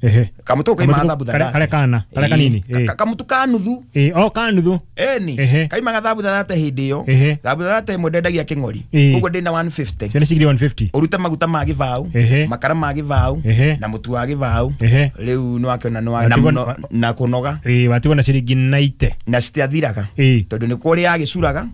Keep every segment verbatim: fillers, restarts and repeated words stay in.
Ehe. Kamutu kaima Kamutu thambutha kare- kare kana, kare kanini, Ka- eh. ka- kamutu ka nuthu. Ĩ, o ka nuthu. Eni Ehe. kaimaga thambutha thate hĩndĩ ĩyo. Ehe. Thambutha thate ĩmwe ndendagia kĩng'ori. Ĩ. Koguo ndĩna igana rĩa mĩrongo ĩtano. Cio nĩ ciringi igana rĩa mĩrongo ĩtano. Ũrute maguta ma gĩbaũ, Ehe. makara ma gĩbaũ, Ehe. na mũtu wa gĩbaũ. Ehe. Rĩu nĩwakĩona nĩ wa- na Watigwo- mũno- na kũnoga. Ĩ, watigwo na ciringi mĩrongo kenda. Na citiathiraga, Ĩ. tondũ nĩ kũrĩa agĩcuraga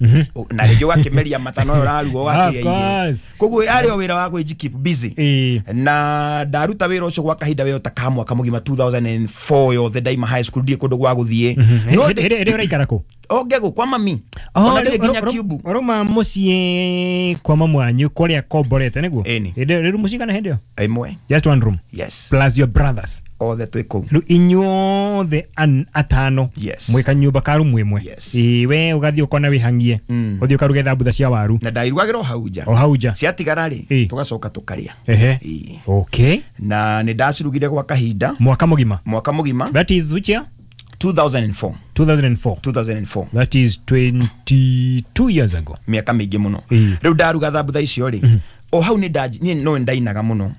na rĩngĩ ũgakĩmeria matano ũyũ ũraruga Of ũgakĩrĩa irio. course. Koguo yarĩ o wĩra wa gwĩji keep busy. Ĩ. Na ndaruta wĩra ũcio gwa kahinda wĩra ta ka mwaka mũgima two thousand and four yothe, ndaima high school, ndirĩ kũndũ gwa gũthiĩ. No Hĩndĩ ndĩ- hĩndĩ ĩrĩa ũraikara kũ? O Ngegũ kwa mami, ona ndirĩ nginya Kiumbu. Ũrauma mũciĩ kwa mamu wanyu kũrĩa komborete nĩguo? Ĩni. Hĩndĩ rĩu mũcigana hĩndĩ ĩyo? Ĩmwe. Just one room? Yes. Plus your brothers? Othe twĩ kũu. Rĩu inyuothe an- atano Yes. mwĩ kanyũmba ka rumu ĩmwe? Yes. Ĩ, we ũgathiĩ ũkona wĩhang'ie, Mm. ũthiĩ ũkaruge thambutha cia waru. Na ndairugagĩra o hau nja. O hau nja. Ciatigara rĩ, Ĩ. tũgacoka tũkarĩa. Ehe. Ĩ. Okay. Na nĩ ndacirugire gwa kahinda. Mwaka mũgima? Mwaka mũgima. That is which year? two thousand and four. two thousand and four. two thousand and four. That is twenty-two years ago. Mĩaka mĩingĩ mũno. Ĩ. Rĩu ndaruga thambutha icio rĩ, o hau nĩ nda niĩ no ndainaga mũno,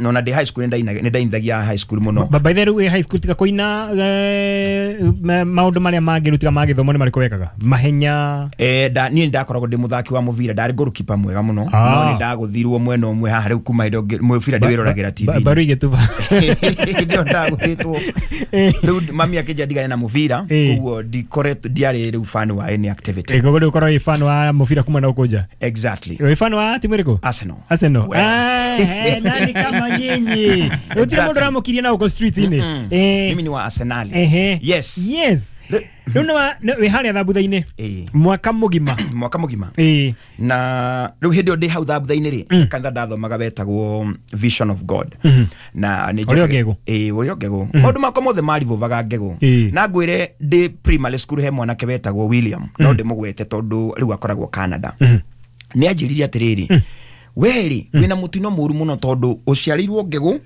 no na ndĩ high school nĩ ndainaga, nĩ ndainithagia high school mũno. Ba- by the way, high school tiga kũina, eh, ma- maũndũ marĩa mangĩ rĩu tiga ma gĩthomo nĩ marĩkũ wekaga? Mahenya? Eh, nda niĩ ndakoragwo ndĩ mũthaki wa mũbira, ndarĩ goalkeeper mwega mũno. Ah. No nĩ ndagũthirwo mwena ũmwe haha, rĩu kuma hĩndĩ ĩyo mũbira ndĩwĩroragĩra Ba- T V. Mbaru igĩtuba. Hĩndĩ ĩyo ndagũthĩtwo, rĩu mami akĩnjia ndigane na mũbira. Eh. Koguo ndikoretwo ndiarĩ rĩu fan wa any activity. Koguo rĩu ũkorwo wĩ fan wa mũbira kuma na ũkũnja? Exactly. Wĩ fan wa timu ĩrĩkũ? Arsenal. Arsenal. Well. Ah, eh, nani kama nyinyi? Gũtirĩ Exactly. mũndũ ũramũkiria na gũkũ street-inĩ. Eh, Mimi ni wa Arsenal. Ehe. Yes. Yes. Rĩu nĩ wa- nĩ- wĩ harĩa thambutha-inĩ Ĩĩ. mwaka mũgima? Mwaka mũgima. Ĩĩ. Na rĩu hĩndĩ ĩyo ndĩ hau thambutha-inĩ rĩ, kanitha ndathomaga wetagwo Vision of God na nĩ Ũrĩa o Ngegũ? Ĩĩ, ũrĩa o Ngegũ. Maũndũ makwa mothe marivovaga Ngegũ. Ĩĩ. Na ngwĩre, ndĩ primary school he mwanake wetagwo William, no ndĩmũgwete tondũ rĩu akoragwo Canada, nĩ anjĩrire atĩrĩrĩ, werĩ wĩna mũtino mũru mũno tondũ ũciarĩirwo Ngegũ,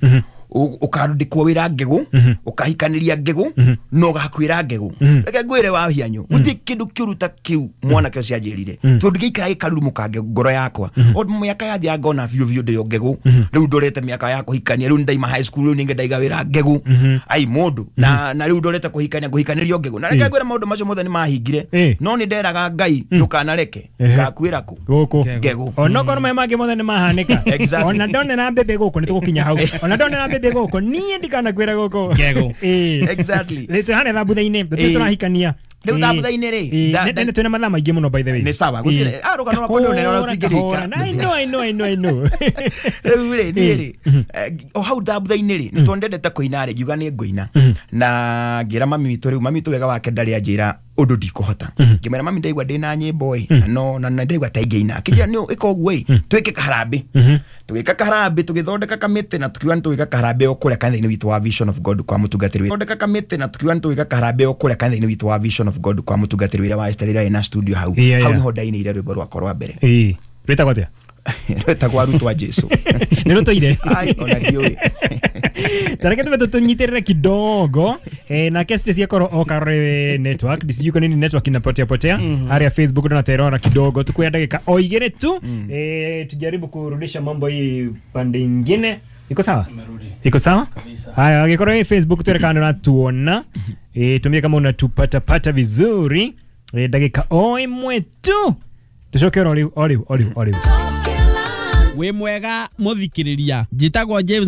ũ- ũkandĩkwo wĩra Ngegũ, ũkahikanĩria Ngegũ, na ũgakuĩra Ngegũ. Reke ngwĩre wa hianyũ, gũtirĩ kĩndũ kĩũru ta kĩu mwanake ũcio anjĩrire, tondũ gĩikara gĩkarurumũka ngoro yakwa o mĩaka yathiaga ngona biũ biũ ndĩrĩ o Ngegũ. Rĩu ndorete mĩaka ya kũhikania, rĩu ndaima high school, rĩu ningĩ ndaiga wĩra Ngegũ, ai mũndũ, na na rĩu ndorete kũhikania, ngũhikanĩrio Ngegũ. Na reke ngwĩre, maũndũ macio mothe nĩ mahingire, Ĩ. no nĩ nderaga Ngai ndũkanareke Ehe. ngakuĩra kũ? Gũkũ. Ngegũ. Onokorwo maya mangĩ mothe nĩ mahanĩka, Exactly. ona ndonera mbembe gũkũ, nĩ tũgũkinya hau, ona ndonera mbembe gũkũ, niĩ ndikanakwĩra gũkũ. Ngegũ. Ĩĩ. Exactly. Rĩu twĩ harĩa thambutha-inĩ, tũtirĩ Ĩĩ. tũrahikania. Rĩu Ĩĩ. thambutha-inĩ rĩ, Ĩĩ. nda- Nĩ- nĩ twĩna mathaa maingĩ mũno, by the way. Nĩ sawa, gũtirĩ- Ĩĩ. ah, rũgano rwakwa nĩ rũnene ũrĩa Kahora, rũtingĩrĩka. kahora. I know, I know, I know, I know. Rĩu rĩ, niĩ rĩ, eh, o hau thambutha-inĩ rĩ, nĩ tondũ ndendete kũina rĩ, ngiuga nĩ ngũina, na ngĩra mami witũ. Rĩu mami witũ wega wake ndarĩ anjĩra ũndũ ndikũhota. Ngĩmwĩra, "Mami, ndaigua ndĩna nyĩmbo ĩ, na no na na ndaigua ta ingĩina." Akĩnjĩra, "Nĩ ĩka ũguo ĩ, twĩke kaharambĩ." Tũgĩka kaharambĩ, tũgĩthondeka kamĩtĩ na tukiuga nĩ tũgĩka kaharambĩ o kũrĩa kanitha-inĩ witũ wa Vision of God kwa mũtungatĩri witũ. Thondeka kamĩtĩ na tukiuga nĩ tũgĩka kaharambĩ o kũrĩa kanitha-inĩ witũ wa Vision of God kwa mũtungatĩri wĩra wa Esther ĩrĩa ĩna studio hau. Yeah, hau yeah. niho ndainĩire rwĩmbo rwakwa rwa mbere. Ĩĩ. Rwĩtagwo atĩa? Rwĩtagwo Arutwo a Jesu. Nĩ rũtũire? Ai, ona ndiũĩ. Tareke tume tunyitĩrĩre kidogo, eh, nake Stacy akorwo okarore network, sijui kwa nini network inapotea potea harĩa Facebook tunaterora kidogo, tukuya dakika o igĩrĩ tu, eh, tujaribu kurudisha mambo hii pande ingine. Iko sawa? Iko sawa. Haya, angĩkorwo ĩ Facebook twĩre kana unatuona, eh, tuambie kama unatupatapata vizuri, eh, ndagĩka o ĩmwe tu tucoke oro rĩu, o rĩu, o rĩu, o rĩu. Wĩ mwega mũthikĩrĩria, njĩtagwo James.